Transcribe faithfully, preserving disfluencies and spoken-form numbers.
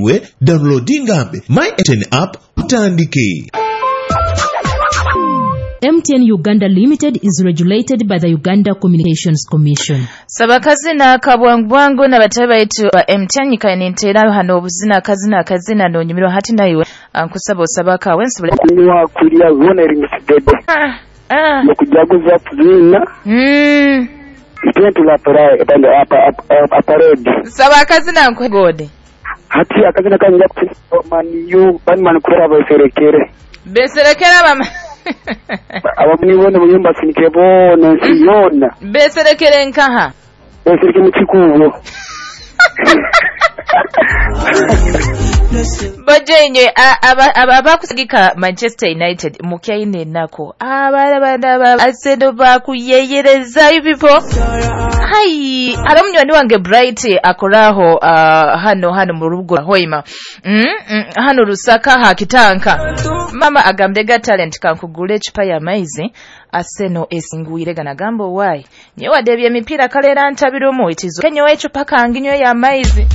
Iwe downloadinga My M T N app utandike. M T N Uganda Limited is regulated by the Uganda Communications Commission. Sabakazina kabwangubwangu n'abatabe baitu ba M T N nyikaye ninteera hano obuzina, akazina akazina nonyumirwa hati. Naiwe nkusaba osaba akawe nsobole Kunywa, kulya, byona eri musidede. Ah, ah. Nokujaguza kuzina. Mm. Itwe aparedi. Saba akazina nkwegode. Hati akazina kanyija maniyu banimani kubera beserekere. Beserekera bama. Abamuni bone muyumba sinike boona ensi yoona. Beserekere nkaha? Besereke mu kikuubo. Bajenye abakusagika Manchester United mukyaine ennaku, abalabana Arsenal bakuyeyereza. You people, hai, ari munywani wange Bright akoraho uh, hano hano mu rugo Hoima, mm, mm, hano Rusaka hakitanka mama agambye ga talent kankugula ecupa y'amaizi, Arsenal esingwire. Ganagamba, "Owaayi, nyewe wadde ebyemipiira kaleera ntabirumu itizo kenyowe ecupa kange nywe y'amaizi."